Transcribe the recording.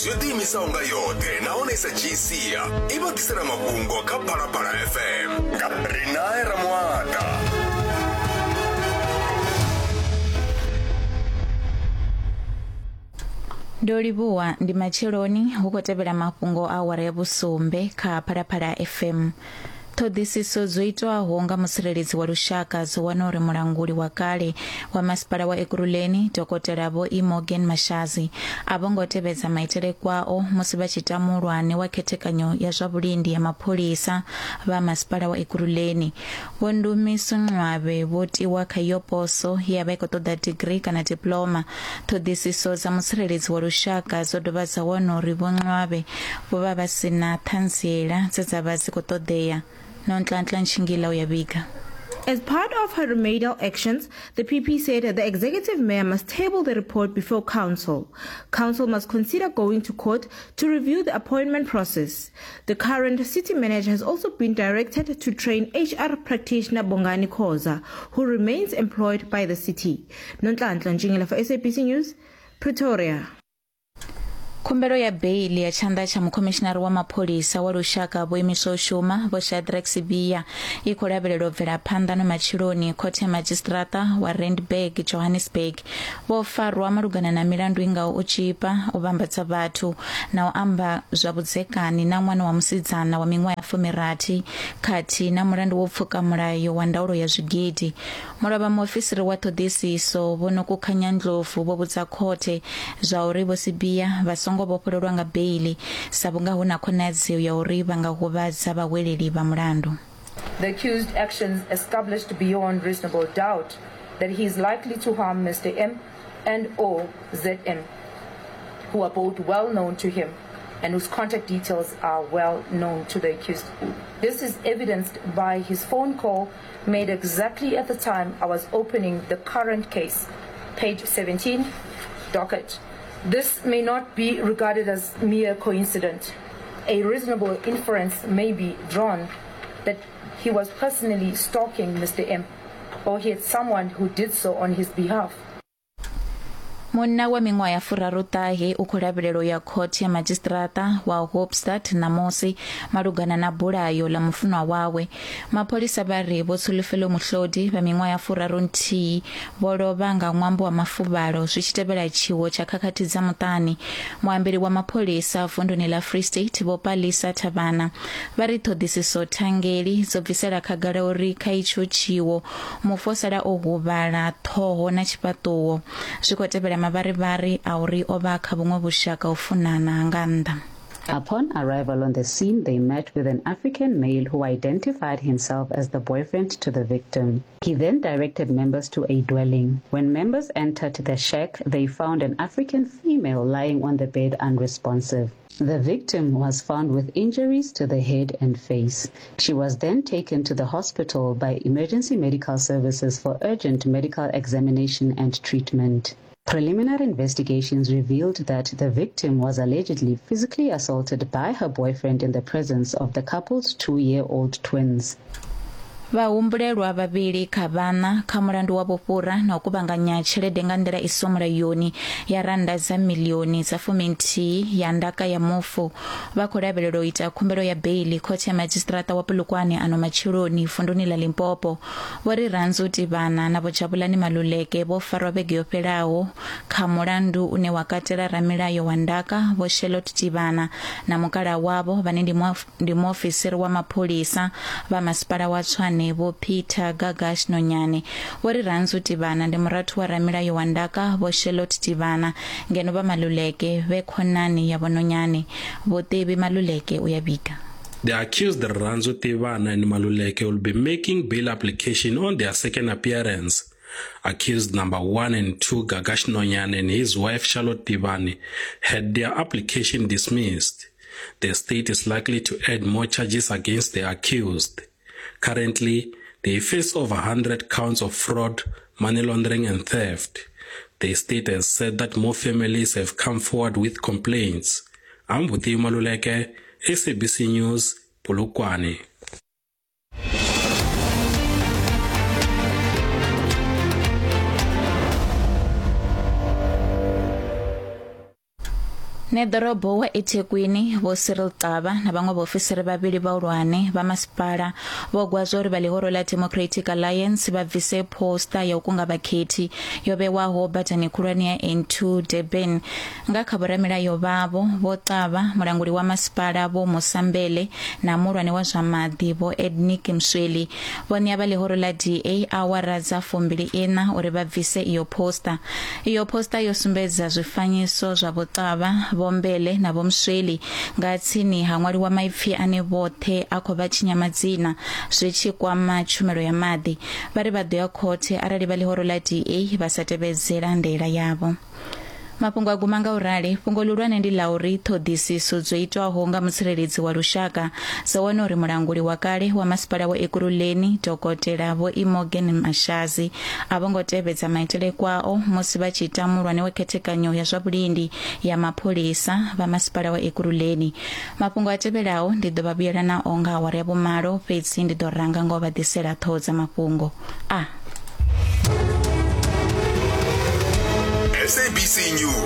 News yo ḓiimisaho nga yoṱhe nahone i sa dzhii sia i vha ḓisela mafhungo kha Phalaphala FM nga Rinae Ramuata. Ndo livhuwa ndi matsheloni hu khou tevhela mafhungo a awara ya vhusumbe kha Phalaphala FM. Ṱhoḓisiso dzo itwaho nga mutsireledzi wa lushaka dzo wana uri mulanguli wa kale wa masipala wa Ekurhuleni Dokotela Vho E Morgan Mashazi a vho ngo tevhedza maitele kwao musi vha tshi ta muhulwane wa khethekanyo ya zwa vhulindi ya mapholisa vha masipala wa Ekurhuleni. Vho Ndumiso Nxwabe vho tiwa kha iyo poso ye ya vha i khou ṱoḓa digirii kana diploma. Ṱhoḓisiso dza mutsireledzi wa lushaka dzo dovha dza wana uri Vho Nxwabe vho vha vha si na ṱhanziela dze dza vha dzi khou ṱoḓea. Nonhlanhla Ntshingila u ya vhiga. As part of her remedial actions, the PP said the executive mayor must table the report before council. Council must consider going to court to review the appointment process. The current city manager has also been directed to train HR practitioner Bongani Khoza, who remains employed by the city. Nonhlanhla Ntshingila for SABC News, Pretoria. Khumbelo ya beiḽi ya tshanḓa tsha mukhomishinari wa mapholisa wa lushaka vho imiswa u shuma Vho Shadrack Sibiya i khou lavhelelwa u bvela phanḓa no matsheloni khothe ya madzhisiṱiraṱa wa Randburg, Johannesburg. Vho farwa malugana na milandu i ngaho u tzhipa, u vhambadza vhathu na u amba zwa vhudzekani na ṅwana wa musidzana wa miṅwaha ya fumirathi khathihi na mulandu wa u pfuka mulayo wa ndaulo ya zwigidi. Mulovha muofisiri wa ṱhoḓisiso Vho Nokukhanya Ndlovu vho vhudza khothe zwauri Vho Sibiya vha songo vhofhololwa nga beiḽi sa vhunga hu na khonadzeo ya uri vha nga huvhadza vhahweleli vha mulandu. The accused actions established beyond reasonable doubt that he is likely to harm Mr M and or ZM, who are both well known to him and whose contact details are well known to the accused. This is evidenced by his phone call made exactly at the time I was opening the current case, page 17, docket. This may not be regarded as mere coincidence. A reasonable inference may be drawn that he was personally stalking Mr. M, or he had someone who did so on his behalf. Munna wa miṅwaha ya furaruṱahe u khou lavhelelwa u ya khothe ya madzhisiṱiraṱa wa Hoopstad ṋamusi malugana na bulayo ḽa mufunwa wawe. Mapholisa vha ri Vho Tsholofelo Muhlodi vha miṅwaha ya furarunthihi vho lovha nga ṅwambo wa mafuvhalo zwi tshi tevhela tshiwo tsha khakhathi dza muṱani. Muambeli wa mapholisa vunduni ḽa Free State Vho Palisa Thavhana vha ri ṱhoḓisiso thangeli dzo bvisela khagala uri kha itsho tshiwo mufu o sala o huvhala ṱhoho na tshifhaṱuwo. Zwi khou tevhela mavharivhari a uri o vha kha vhuṅwe vhushaka u funana ha nga nnḓa. Upon arrival on the scene, they met with an African male who identified himself as the boyfriend to the victim. He then directed members to a dwelling. When members entered the shack, they found an African female lying on the bed unresponsive. The victim was found with injuries to the head and face. She was then taken to the hospital by emergency medical services for urgent medical examination and treatment. Preliminary investigations revealed that the victim was allegedly physically assaulted by her boyfriend in the presence of the couple's two-year-old twins. Vhahumbulelwa vhavhili kha vhaṋa kha mulandu wa vhufhura na u kuvhanganya tshelede nga nḓila i siho mulayoni ya rannda dza miḽioni dza fuminthihi ya ndaka ya mufu vha khou lavhelelwa u ita khumbelo ya beiḽi khothe ya madzhisiṱiraṱa wa Polokwane ano matsheloni vunduni ḽa Limpopo. Vho Rirhandzu Tivhana na Vho Jabulani Maluleke vho farwa vhege yo fhelaho kha mulandu une wa katela ramilayo wa ndaka Vho Charlotte Tivhana na mukalaha wavho vhane ndi Ndi muofisiri wa mapholisa vha masipala wa Tshwane Vho Peter Gagash Nonyane vho ri Rhandzu Tivhana ndi murathu wa ramilayo wa ndaka Vho Charlotte Tivhana ngeno vha Maluleke vhe khonani ya Vho Nonyane. Vho Tebi Maluleke u ya vhiga. The accused Rhandzu Tivhana and Maluleke will be making bail application on their second appearance. Accused number 1 and 2 Gagash Nonyane and his wife Charlotte Tivhani had their application dismissed. The state is likely to add more charges against the accused. Currently, they face over 100 counts of fraud, money laundering and theft. The state has said that more families have come forward with complaints. I'm Buti Maluleke, SABC News, Polokwane. Neḓorobo wa eThekwini Vho Cyril Xaba na vhaṅwe vhaofisiri vhavhili vhahulwane vha masipala vho gwazwa uri vha ḽihoro ḽa Democratic Alliance vha bvise posta ya u kunga vhakhethi yo vhewaho badani khulwane ya N2 Durban. Nga kha vhoramilayo vhavho, Vho Xaba, mulanguli wa masipala Vho Musa Mbele na muhulwane wa zwa maḓi Vho Ednick Msweli vho ṋea vha ḽihoro ḽa DA awara dza 24 uri vha bvise iyo posta. Iyo posta yo sumbedza zwifanyiso zwa Vho Xaba, Vho Mbele na Vho Msweli nga tsini ha ṅwaliwa maipfi ane vhoṱhe a khou vha tshinya madzina zwi tshi kwama tshumelo ya maḓi. Vha ri vha ḓo ya khothe arali vha ḽihoro ḽa DA vha sa tevhedzela ndaela yavho. Mafhungo a guma nga u rali. Fhungo ḽihulwane ndi ḽa uri ṱhoḓisiso dzo itwaho nga mutsireledzi wa lushaka dzo wana uri mulanguli wa kale wa masipala wa Ekurhuleni Dokotela Vho Imogen Mashazi a vho ngo tevhedza maitele kwao musi vha tshi ita muhulwane wa khethekanyo ya zwa vhulindi ya mapholisa vha masipala wa Ekurhuleni. Mafhungo a tevhelaho ndi ḓo vha vhuyela nao nga awara ya vhumalo, fhedzi ndi ḓo ranga nga u vha ḓisela ṱhoho dza mafhungo a SABC News.